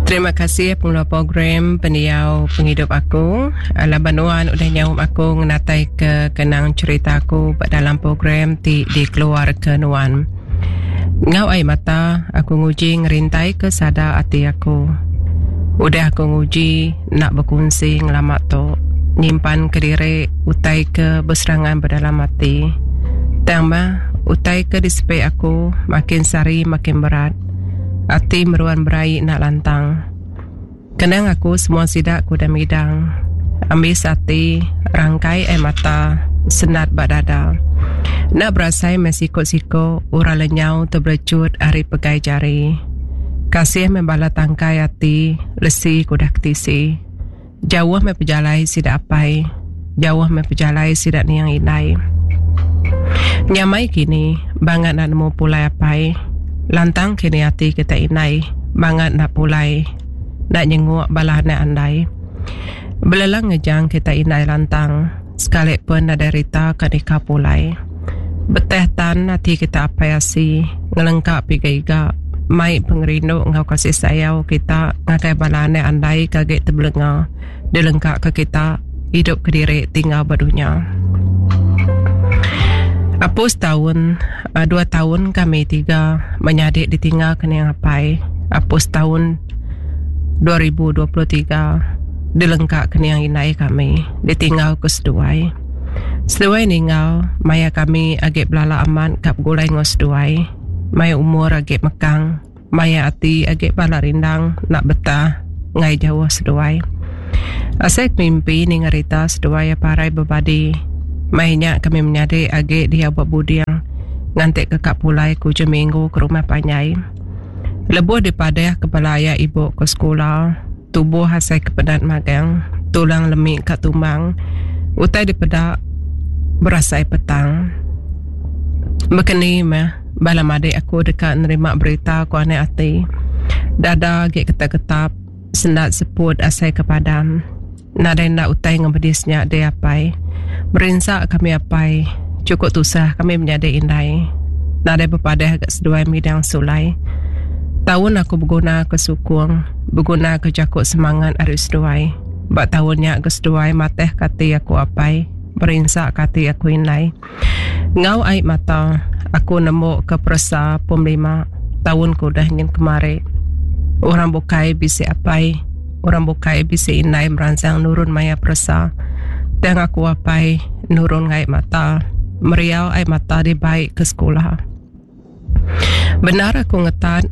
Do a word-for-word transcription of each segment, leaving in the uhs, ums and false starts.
Terima kasih pengeluar program Pendiau Pengidup Aku laban nuan udah nyaup aku ngenatai ke kenang cerita aku ba dalam program ti dikeluar ke nuan. Enggau ai mata aku nguji ngerintai ke sada ati aku. Udah aku nguji enda bekunsi ngelama tu nyimpan kediri utai ke beserangan ba dalam ati. Tang mah utai ke disepi aku makin sehari makin berat. Ati meruan beraie enda lantang. Kenang aku semua sida ke udah midang. Ambis ati, rangkai ai mata, sendat ba dada. Enda berasai meh siko-siko orang lenyau tebelecut ari pegai jari. Kasih meh bala tangkai ati lesi ke udah ketisi. Jauh meh pejalai sida apai, jauh meh pejalai sida niang indai. Nyamai kini bangat enda nemu pulai apai. Lantang kini ati kita indai bangat enda pulai enda nyenguk bala anak andai. Belelang ngejang kita indai lantang sekali pun nadai rita ka nika pulai. Beteh tan ati kita apai asi ngelengka piga iga mai pengerindu enggau kasih sayau kita ngagai bala anak andai ke agi tebelenga dilengka ke kita idup kediri tinggal ba dunya. Apus taun, dua taun kami tiga menyadi ditinggal ke niang apai. Apus taun dua ribu dua puluh tiga dilengka ke niang indai kami ditinggal ke seduai. Seduai ninggal maya kami agi belala amat ka begulai enggau seduai. Maya umur agi mekang, maya ati agi bala rindang enda betah ngai jauh seduai. Asai ke mimpi ninga rita seduai parai bebadi. Mai nya kami menyadi agi diau ba buding nganti ke ka pulai ke ujung minggu ke rumah panjai. Lebuh dipadah ke bala aya ibu ke sekula, tubuh asai ke penat magang, tulang lemi ka tumbang, utai dipeda berasai petang. Bekeni meh bala madik aku deka nerima berita ku anak ati. Dada agi ketap-ketap, sendat seput asai ke padam. Nadai enda utai ngemedis nya deh apai. Merinsa kami apai. Cukup tusah kami menyadi indai. Nadai bepadah ga seduai midang sulai. Taun aku beguna ke sukung, beguna ke jaku semangat ari seduai. Ba taun nya ga seduai mateh ke ati aku apai, merinsa ke ati aku indai. Enggau ai mata aku nemu ke peresa pom lima taun ke udah nyin kemari. Orang bukai bisi apai, orang bukai bisi indai meransang nurun maya peresa. Tang aku apai nurun ngai mata, meriau ai mata dibai ke sekula. Bendar aku ngetat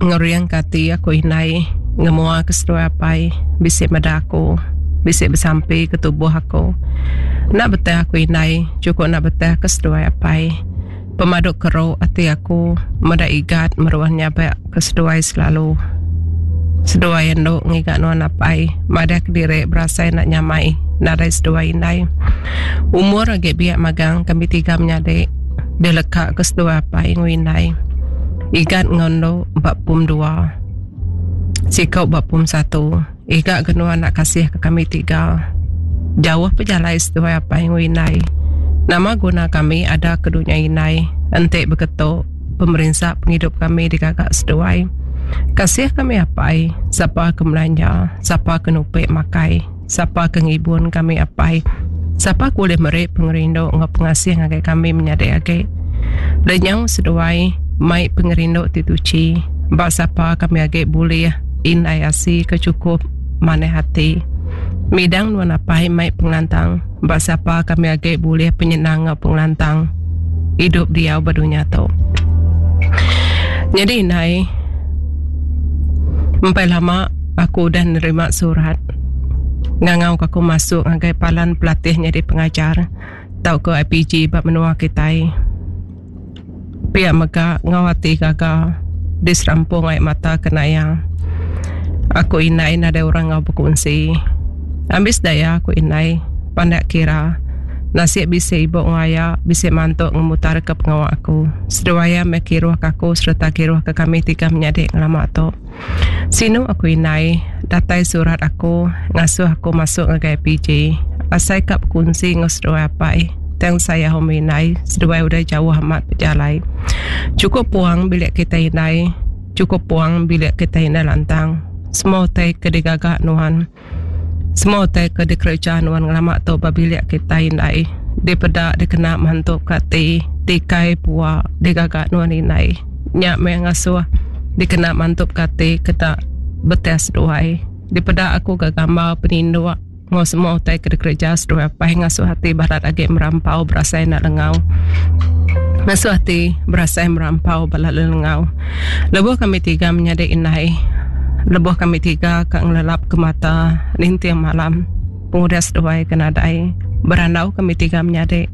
ngering ke ati aku indai ngemua ke seduai apai bisi meda aku, bisi besampi ke tubuh aku. Enda betah aku indai, cukup enda betah ke seduai apai. Pemadu keru ati aku meda igat meruan nyabak ke seduai selalu. Seduai endu ngiga nuan apai, madah kediri berasai nak nyamai nadai seduai indai. Umur agi biak magang kami tiga menyadi dileka ke seduai apai enggau indai. Igat enggau endu ba pum dua. Sikau ba pum satu. Iga ke nuan nak kasih ke kami tiga. Jauh pejalai seduai apai enggau indai. Nama guna kami ada ke dunya indai enti beketu pemerinsa pengidup kami digaga seduai. Kasih kami apai, sapa ke melanja, sapa ke nupik makai, sapa ke ngibun kami apai, sapa ke boleh meri pengerindu enggau pengasih ngagai kami menyadi agi. Lenyau seduai mai pengerindu ti tuchi, ba sapa kami agi bulih indai asi ke cukup manah ati. Midang nuan apai mai pengelantang, ba sapa kami agi bulih penyenang enggau pengelantang hidup diau ba dunya tu. Jadi indai, empai lama aku udah nerima surat ngangau ke aku masuk ngagai palan pelatih nyadi pengajar tau ke I P G ba menua kitai. Pia mega ngau ati gaga diserampung ai mata kena iya. Aku indai nadai orang ngau berkongsi. Ambis daya aku indai pandak kira. Nasib bisi ibu ngau aya bisi mantu ngemutar ke pengawa aku. Seduai iya meh kiruh ke aku sereta kiruh ke kami tiga menyadi ngelama tu. Sinu aku indai, datai surat aku ngasuh aku masuk ngagai I P G. Asai ka berkongsi enggau seduai apai. Tang saya home indai, seduai udah jauh amat berjalai. Cukup puang bilik kita indai, cukup puang bilik kita indai lantang. Semua utai ke digaga nuan. Semua utai ke dikereja nuan ngelama tu ba bilik kitai indai. Dipeda dikena mantup ka ati tikai pua digaga nuan indai. Nya meh ngasuh dikena mantup ka ati keda betih seduai. Dipeda aku ga gambar peninduk enggau semua utai ke dikereja seduai apai ngasuh ati balat agi merampau berasai enda lengau. Ngasuh ati berasai merampau balat lelengau. Lebuh kami tiga menyadi indai, lebuh kami tiga ka ngelelap ke mata ninting malam pengudah seduai ke nadai berandau kami tiga menyadi.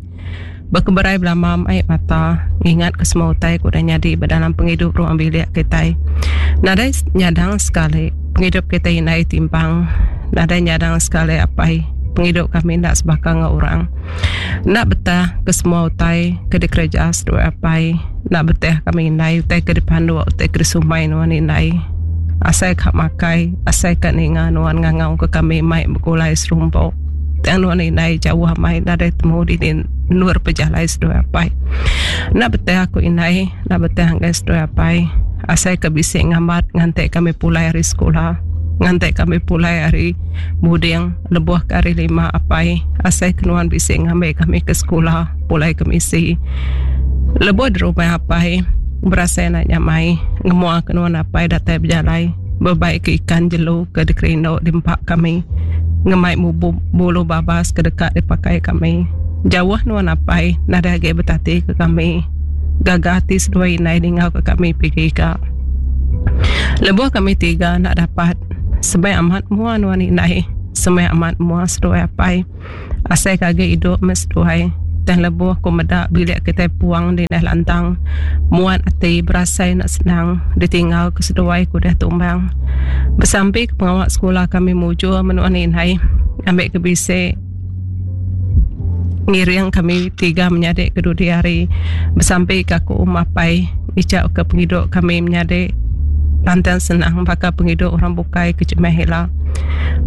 Bekeberai belama ai mata ngingat ke semua utai ke udah nyadi ba dalam pengidup ruang bilik kitai. Nadai nyadang sekali pengidup kitai indai timpang. Nadai nyadang sekali apai pengidup kami enda sebaka enggau orang. Enda betah ke semua utai ke dikereja seduai apai. Enda betah kami indai utai ke dipanduk utai ke disumai nuan indai. Asai ka makai asai ka ninga nuan ngangau ke kami mai begulai serumpu. Tang nuan indai jauh amai nadai temu dini endur pejalai seduai apai. Enda betah aku indai enda betah ngagai seduai apai. Asai ke bisi ngambat nganti kami pulai ari sekula. Nganti kami pulai ari buding lebuh ke hari lima apai. Asai ke nuan bisi ngambi kami ke sekula pulai ke misi. Lebuh di rumah apai berasai enda nyamai ngemua ke nuan apai datai bejalai bebai ke ikan jelu ke dikerindu diempa kami ngemai bulu babas ke deka dipakai kami. Jauh nuan apai nadai agi betati ke kami. Gaga ati seduai indai ningau ke kami pigi ga. Lebuh kami tiga enda dapat semai amat mua nuan indai semai amat mua seduai apai. Asai ke agi idup meh seduai tang lebuh ku meda bilik kitai puang dindai lantang muat ati berasai enda senang ditinggal ke seduai ke udah tumbang. Besampi ke pengawa sekula kami mujur menua indai ngambi ke bisi ngiring kami tiga menyadi ke dudi hari. Besampi ke aku apai ngichau ke pengidup kami menyadi lantang senang baka pengidup orang bukai ke jemah ila.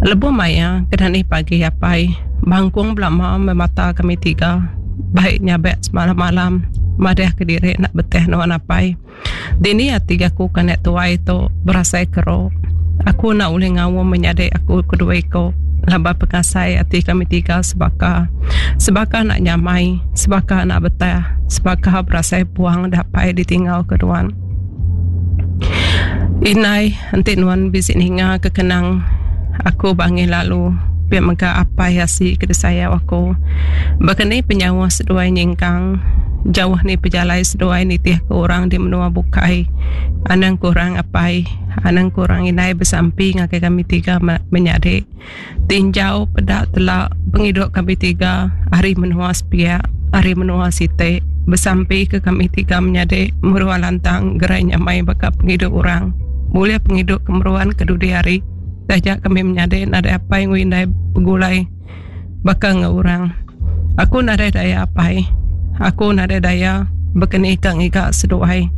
Lebuh maya ke dani pagi apai bangkung belama meh mata kami tiga bai nyabek semalam-malam madah kediri enda betih nuan apai. Dini ati aku ke anak tuai tu berasai keru. Aku enda ulih ngaum menyadi aku kedua iku laban pengasai ati kami tiga sebaka. Sebaka enda nyamai, sebaka enda betah, sebaka berasai puang dapai ditinggal ke nuan. Indai enti nuan bisi ninga ke kenang aku bangih lalu pia mega apai asi ke disayau aku. Baka ni penyauh seduai nyingkang jauh ni pejalai seduai nitih ke orang di menua bukai. Anang kurang apai, anang kurang indai besampi ngagai kami tiga menyadi. Tinjau peda tela pengidup kami tiga ari menua sepiak, ari menua siti. Besampi ke kami tiga menyadi meruan lantang gerai nyamai baka pengidup orang. Bulih pengidup ke meruan ke dudi hari. Taja kami menyadi nadai apai enggau indai begulai baka enggau orang. Aku nadai daya apai. Aku nadai daya bekeni ka ngiga seduai.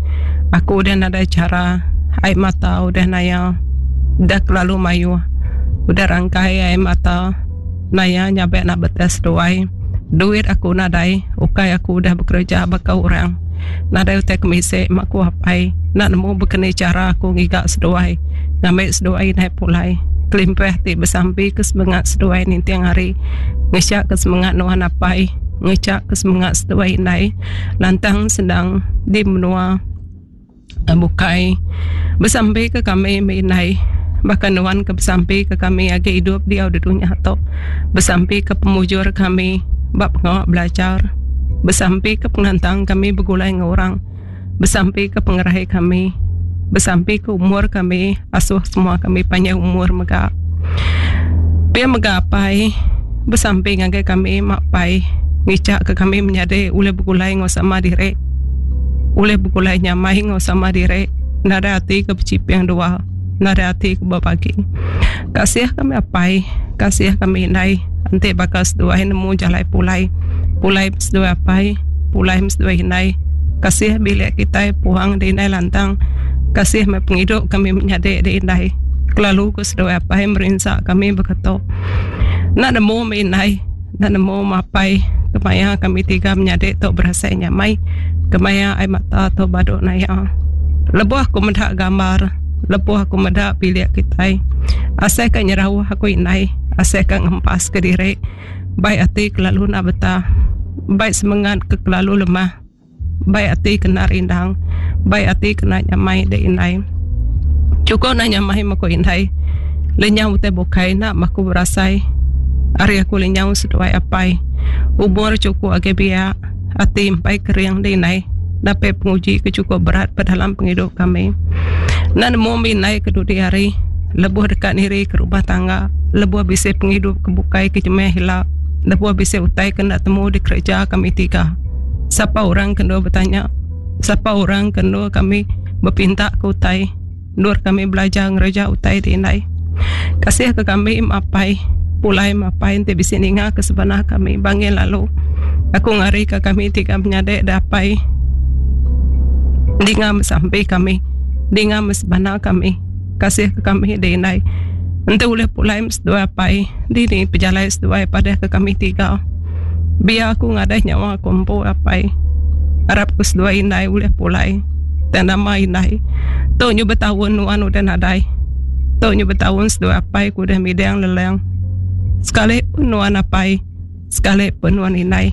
Aku udah nadai chara. Ai mata udah naya. Udah kelalu mayuh. Udah rangkai ai mata naya nyabek nak betes seduai. Duit aku nadai, ukai aku udah bekereja baka orang. Nadai utai kemisi mak ku apai. Enda nemu bekeni chara aku ngiga seduai, ngambi seduai indai pulai. Kelimpah ti besampi ke semengat seduai ninting hari. Ngecha ke semengat nuan apai, ngecha ke semengat seduai indai. Lantang senang di menua bukai. Besampi ke kami meh indai. Baka nuan ke besampi ke kami agi idup diau di dunya tu. Besampi ke pemujur kami ba pengawa belajar. Besampi ke pengelantang kami begulai enggau orang. Besampi ke pengerai kami. Besampi ke umur kami asuh semua kami panjai umur mega. Pia mega apai besampi ngagai kami mak pai ngicha ke kami menyadi ulih begulai enggau sama diri. Ulih begulai nyamai enggau sama diri. Nadai ati ke bechiping dua. Nadai ati ke bebagi. Kasih kami apai, kasih kami indai enti baka seduai nemu jalai pulai. Pulai meh seduai apai, pulai meh seduai indai. Kasih bilik kitai puang di indai lantang. Kasih meh pengidup kami menyadi di indai. Kelalu ku seduai apai merinsa kami baka tu. Enda nemu meh indai, enda nemu meh apai kemaya kami tiga menyadi tu berasai nyamai. Kemaya ai mata tu badu naya. Lebuh aku meda gambar Lebuh aku meda bilik kitai. Asai ka nyerauh aku indai, asai ka ngempas ke diri. Bai ati kelalu enda betah. Bai semengat ke kelalu lemah. Bai ati kena rindang. Bai ati kena nyamai dek indai. Chukup enda nyamai meh ku indai. Lenyau utai bukai enda meh aku berasai. Ari aku lenyau seduai apai. Umur chukup agi biak. Ati empai kering dek indai. Dapai penguji ke chukup berat ba dalam pengidup kami. Enda nemu mih indai ke dudi hari lebuh deka niri ke rumah tangga, lebuh bisi pengidup ke bukai ke jemah ila, lebuh bisi utai ke enda temu dikereja kami tiga. Sapa orang ke endur betanya? Sapa orang ke endur kami bepinta ke utai? Endur kami belajar ngereja utai ti indai. Kasih ke kami mapai pulai mapai enti bisi ninga ke sebana kami bangin lalu. Aku ngari ke kami tiga menyadi da apai dinga besampi kami dinga besebana kami kasih ke kami di indai. Enti ulih pulai seduai apai dini pejalai seduai padah ke kami tiga. Biar aku ngadai nyawa aku empu apai. Arap ke seduai indai ulih pulai. Tang nama indai. Tu nyu betaun nuan udah nadai. Tu nyu betaun seduai apai ku udah midang lelang. Sekali pun nuan apai, sekali pun nuan indai.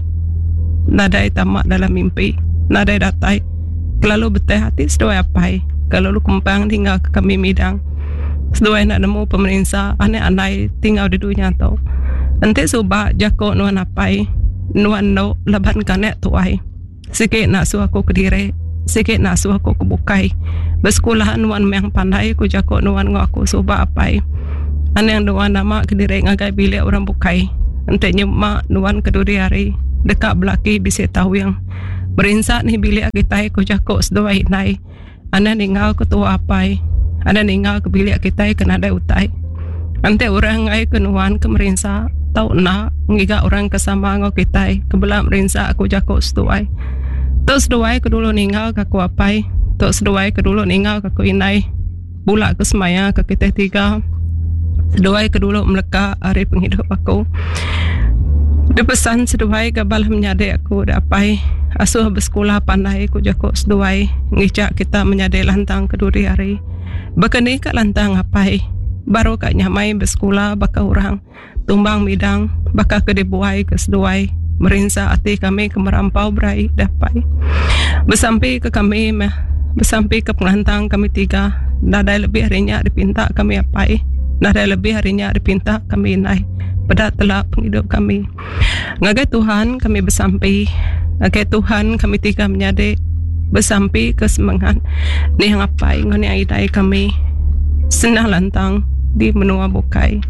Nadai tama dalam mimpi, nadai datai. Kelalu beteh ati seduai apai, kelalu kempang ninggal ke kami midang. Seduai enda nemu pemerinsa anak andai tinggal di dunya tu. Enti suba jaku nuan apai, nuan endo laban ke anak tuai. Sigi enda suah aku kediri, sigi enda suah aku ke bukai. Besekula nuan meh pandai ku jaku nuan enggau aku suba apai. Anang nuan nama kediri ngagai bilik orang bukai. Enti nyema nuan ke dudi hari deka belaki bisi tawing. Merinsa nih bilik kitai ku jaku seduai indai. Anang ninggal ke tua apai. Anang ninggal ke bilik kitai ke nadai utai. Enti orang enggai ke nuan ke merinsa tau enda ngiga orang ke sama enggau kitai ke bela merinsa ku jaku seduai. Tu seduai ke dulu ninggal ke aku apai, tu seduai ke dulu ninggal ke aku indai. Bula ke semaya ke kitai tiga. Seduai ke dulu meleka ari pengidup aku. Dipesan seduai ga bala menyadi aku da apai asuh besekula pandai ku jaku seduai ngicha kita menyadi lantang ke dudi hari. Baka ni ka lantang apai baru ka nyamai besekula baka orang tumbang midang baka ke dibuai ke seduai merinsa ati kami ke merampau beraie da apai. Besampi ke kami meh besampi ke pengelantang kami tiga nadai lebih ari nya dipinta kami apai nadai lebih ari nya dipinta kami indai peda tela pengidup kami. Ngagai Tuhan kami besampi ngagai Tuhan kami tiga menyadi besampi ke semengat nih apai enggau nih indai kami senang lantang di menua bukai.